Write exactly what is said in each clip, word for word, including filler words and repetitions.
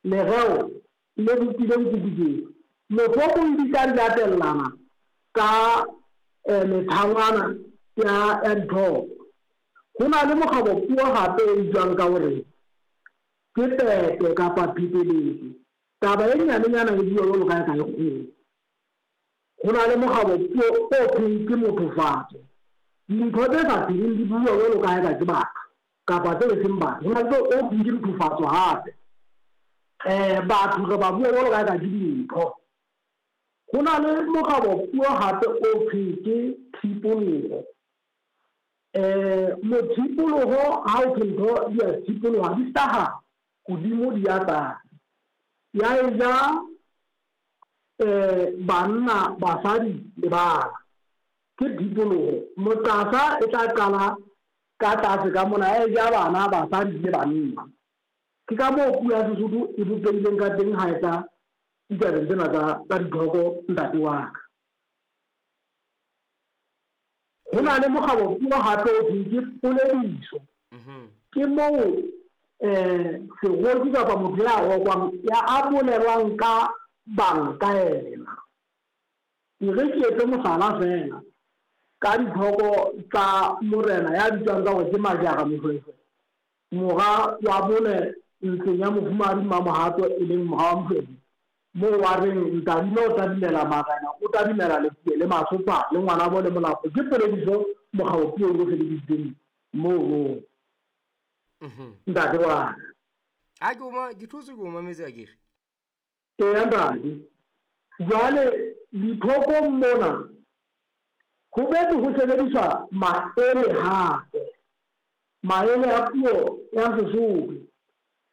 Lereo le bopileng kuku. Mohlomong di tla di latellana ka eh, methangwana ya ya dithoko. Ho na le mokgabo puo hape e bitswang ka hore ke pepe kapa pheteletso. Taba e nyanenyana e bua jwalo ka e ka e kgolo. Ho na le mokgabo puo o thweng ke mothofatso. Dintho tse sa pheleng di bua jwalo ka ha eka ke batho kapa tse seng batho. Ho na le o thweng ke nthofatso hape. Eh batho re ba bua jwalo ka ha eka ke dintho. Ho na le mokgabo puo hape o thweng ke thipoloho. Eh mothipoloho ha o thwe ntho di a thipoloha, di hlaha hodimo di ya tlase. Ya e ja eh banna, basadi le bana. Ke thipoloho. Moqasa e tla qala ka tlase ka mona, ya e ja bana, basadi le banna. Ke ka moo puo ya Sesotho e bopehileng ka teng ha e tla ditabeng tsena tsa tsa dithoko ntate wa ka. Ho na le mokgabo puo hape o thweng ke polediso. Ke moo eh seroki kapa motho ya rokwang ya a bolelwang ka bang ka yena. E re ke etse mohlala feela ka dithoko tsa morena ya bitswang ka hore ke Majara Moshweshwe, mora wa bone ntlong ya mofumahadi Mmamohato e leng mora wa Moshweshwe, moo wa reng Ntadime o tadimela marena, o tadimela Lepuwe le Masopha le ngwanabo le Molapo. Ke polediso mokgabo puo o sebedisitseng moo. Ntate wa ka. Ha ke o ma ke thotse ke o mametse akere. Eya ntate. Jwale dithokong mona ho boetse ho sebediswa maele hape. Maele a puo ya Sesotho.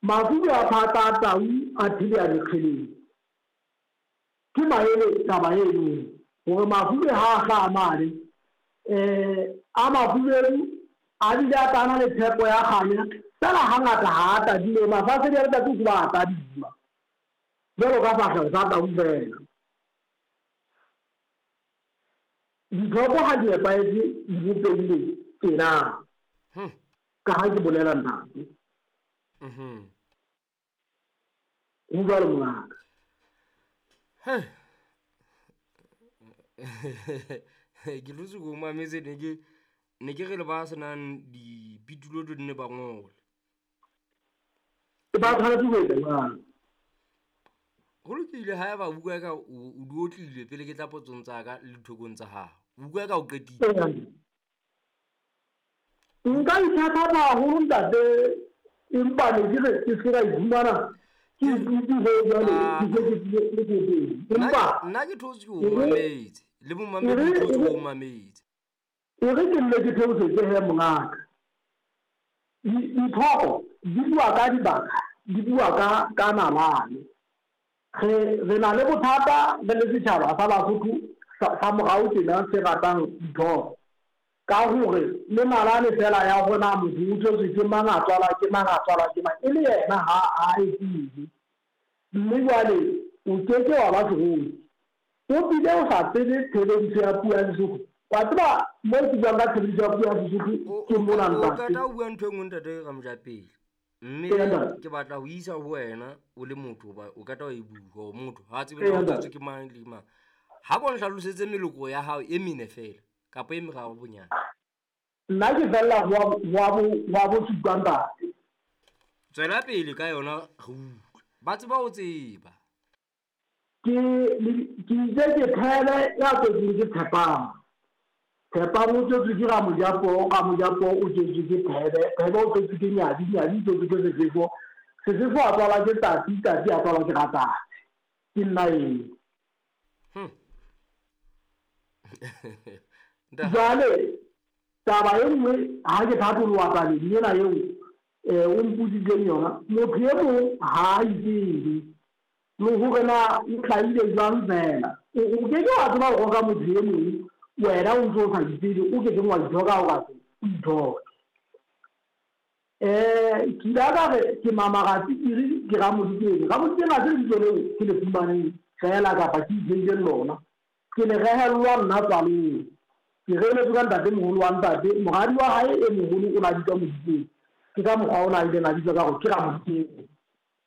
Mafube a phata a tau a thibea mekgeleng. Ke maele taba eno hore mafube ha a hlaha mane eh a mafubedu a bile a tana le tshepo ya kganya, fela hangata ha a tadime mafasedi a letsatsi ke ba a tadima jwalo ka fahleho sa tau fela. Dithoko ha di nepahetse di bopehile tjena. Ka ha ke bolela ntate. Ho jwalo mongaka. Ke thotse ke o mametse ne ke ne ke re le ba senang dipitulo di nne ba ngole. Ba tshwanetse ho etsa jwalo. Ho lokile ha eba bua ka o di otlile pele ke tla potsong tsa ka le dithokong tsa hao. O bua ka o qetile. Nka ithathatha haholo ntate, empa ne ke re ke se ka iphumana ke ikutlwe ho jwale ke se ke tlile le teng. Empa nna ke thotse ke o mametse le momamedi o thotse o mametse. E re ke nne ke theosetse he mongaka. Dithoko di bua ka dibaka, di bua ka ka nalane. Re re na le bothata re le setjhaba sa Basotho sa morao tjena se ratang dithoko. Ka hore le nalane fela ya hore na motho o tswetswe ke mang, a tswalwa ke mang, a tswalwa ke mang, e le yena ha a e tsebe. Mme jwale o keke wa ba seroki. O bile o sa tsebe tshebediso ya puo ya Sesotho. Wa tseba moo ke buang ka tshebediso ya puo ya Sesotho ke mona O ntate. qeta ho bua ntho e nngwe ntate Ramojapele. Mme ke batla ho isa ho wena o le motho hoba o qeta ho e bua hore motho ha tsebe na o tswetswe ke mang le mang. Ha ko nhlalosetse meloko ya hao e mene fela kapa e meraro bonyane. Nna ke fella ho wa bo wa bo supa ntate. Tswela pele ka yona re utlwe. Ba tseba ho tseba. Ke ke itse ke Thebe ya tswetsweng ke Tshepang. Tshepang o tswetswe ke Ramojapo, Ramojapo o tswetswe ke Thebe, Thebe o tswetswe ke Nyadi, Nyadi o tswetswe ke Sefefo, Sefefo a tswalwa ke Tati, Tati a tswalwa ke Ratsatsi. Ke nna eo. Hmm. Jwale taba e nngwe ha ke thatoloha tabeng ena eo eh o mpotsitseng yona, motho e mong ha a itsebe le hore na o hlahile jwang fela. O keke wa tseba ho roka motho e mong wena o ntso o sa itsebe, o kekeng wa ithoka ha o ka se o ithoke. Eh ke ile ka re ke Mamaratsikiri ke Ramodikeng. Ramodikeng ha se lebitso leo ke le fumaneng fela kapa ke itheileng lona. Ke le rehellwa nna tswalong. Ke reheletswe ka ntatemoholo wa ntate, moradi wa hae e moholo o na bitswa Modikeng. Ke ka mokgwa ona a ileng a bitswa ka hore ke Ramodikeng.